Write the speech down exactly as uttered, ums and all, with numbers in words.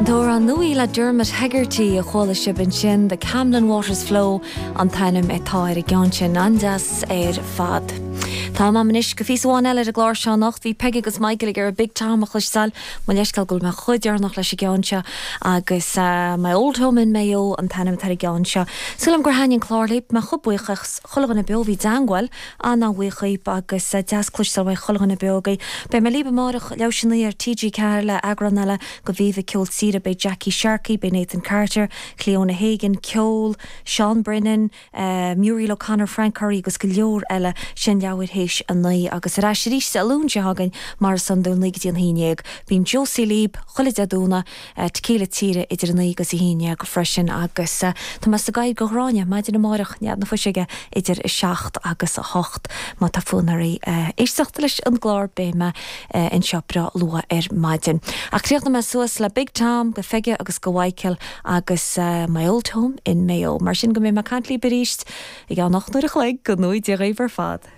An t-amhrán nua le Dermot Hegarty a chuala sibh ansin The Camlin Waters Flow an t-ainm atá ar an gceann sin an-deas ar fad. Tá am anois go phíosa amháin eile ar an gclár seo anocht bhí Peggy agus Michael ag iarraidh Big Tom a chloisteáil mo leithscéal go bhfuil mé chomh deireanach leis an gceann seo agus uh, My Old Home in Mayo an t-ainm atá ar an gceann seo. Súil agam gur thaitin an clár libh mé chomh buíoch chuile dhuine beo bhí i dteagmháil an-bhuíoch agus uh, deas cloisteáil uaidh chuile dhuine beo agaibh. Beidh mé libh amárach leathuair théis a naoi ar TG Ceathair le eagrán eile de Viva Ceol Tíre beidh Jackie Sharkey, beidh Nathan Carter, Cleona Hagan, Ceol, Sean Brennan, uh, Muriel O'Connor, Frank Curry agus go leor eile sin leathuair théis a naoi agus ar ais arís Dé Luain seo chugainn mar is iondúil naoi go dtí an haon déag. Bíonn Josie libh chuile Dé Domhnach uh, Tequila Tíre idir naoi agus a haon déag freisin agus uh, Tá sa gaid go gráine maidin amárach nead na fuige idir a seacht agus a hocht má tá fonn oraibh uh, éisteacht leis an gclár beidh mé uh, anseo breá luath ar maidin. Ach críochnóidh mé suas le Big Tom go Peggy agus go Michael agus uh, My Old Home in Mayo. Mar sin go mbeidh mé ag caint libh arís ag an ocht uair a chloig go nua Dia dhaoibh ar fad.